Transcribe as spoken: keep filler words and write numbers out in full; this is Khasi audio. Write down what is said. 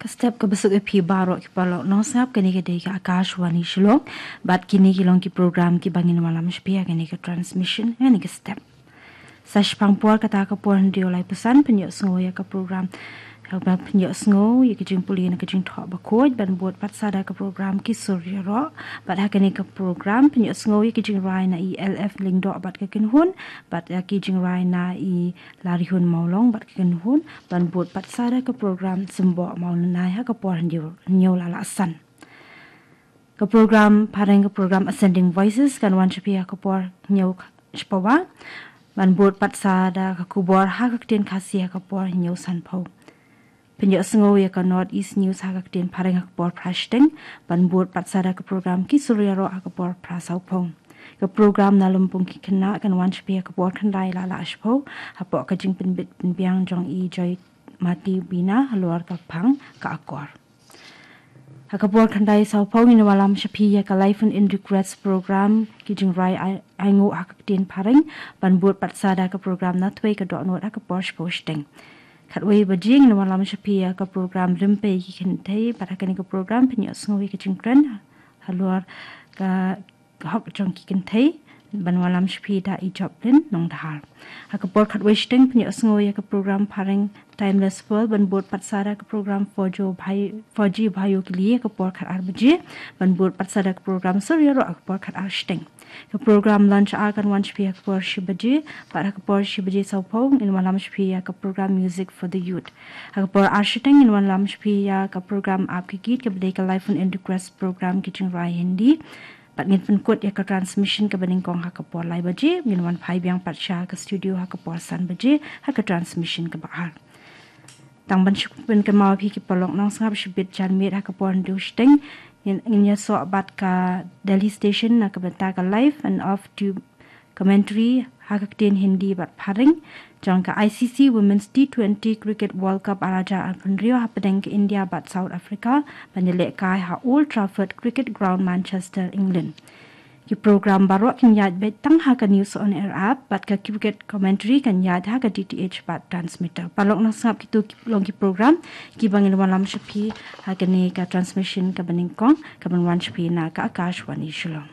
Ka step ka ba suk ïa phi baroh ki paralok nongsngap, kane ka dei ka Akashvani Shillong. Bad kine ki long ki program ki ba ngin wallam sha phi ha kane ka transmission, ha kane ka step. Sa shiphang por kata ka por hynriew laiphew san pynïohsngew ïa ka program, ka ba pynïohsngew ïa ka jingpule na ka jingthoh bakhuid, ban bud pat sa da ka program Ki Sur Ïaroh. Bad ha kane ka program pynïohsngew ïa ka jingrai na i L F Lyngdoh bad ka kynhun, bad ïa ka jingrai na i Larihun Mawlong bad ka kynhun, ban bud pat sa da ka program Symboh Mawlynnai ha ka por hynñiew, hynñiew la la san. Ka program phareng, ka program Ascending Voices, kan wan sha phi ha ka por hynñiew shiphew, ban bud pat sa da ka khubor ha ka ktien Khasi ha ka por hynñiew sanphew. Pynïohsngew ïa ka North East News ha ka ktien phareng ha ka por phra shiteng, ban bud pat sa da ka program Ki Sur Ïaroh ha ka por phra sawphew. Ka program Na Lympung Ki Khynnah kan wan sha phi ha ka por khyndai la la shiphew, hapoh ka jingpynbit pynbiang jong i Joy Mati Bina halor ka phang Ka Akor. Ha ka por khyndai sawphew ngin wallam sha phi ïa ka Live Phone In Request program, ki jingrai ai, ainguh ha ka ktien phareng, ban bud pat sa da ka program Na Thwei Ka Dohnud ha ka por shiphew shiteng. Khatwei baje ngin wallam sha phi ïa ka program Rympei Ki Kynthei, bad ha kane ka program pynïohsngew ïa ka jingkren halor ka hok jong ki kynthei, ban wallam sha phi da i Joplin Nongdhar. Ha ka por khatwei shiteng pynïohsngew ïa ka program phareng Timeless World, ban bud pat sa da ka program Four G Bhai, Four G Bhayo Ke Liye ha ka por khatar baje, ban bud pat sa da ka program Sur Ïaroh ha ka por khatar shiteng. Ka program Lunch Hour kan wan sha phi ha ka por shi baje, bad ha ka por shi baje sawphew ngin wallam sha phi ïa ka program Music for the Youth. Ha ka por ar shiteng ngin wallam sha phi ïa ka program Aap Ke Geet, ka ba dei ka Live Phone In Request program, ki jingrai Hindi. Bad ngin pynkut ïa ka transmission ka ba nyngkong ha ka por lai baje, ngin wan phai biang pat sha ka studio ha ka por san baje ha ka transmission ka ba ar. Tang ban shu pynkynmaw ïa phi ki paralok nongsngap, shibit janmiet ha ka por hynriew shiteng ngin, ngin ïasoh bad ka Delhi Station na ka bynta ka live and off tube commentary ha ka ktien Hindi bad phareng jong ka I C C Women's T twenty Cricket World Cup ar hajar arphew hynriew hapdeng ka India bad South Africa, ban ïalehkai ha Old Trafford Cricket Ground, Manchester, England. Ki program baroh kin ïaid beit tang ha ka News on Air app, bad ka cricket commentary kan ïaid ha ka D T H bad transmitter. Paralok nongsngap, kito ki long ki program ki ba ngin wallam sha phi ha kane ka transmission ka ba nyngkong ka ban wan sha phi na ka Akashvani Shillong.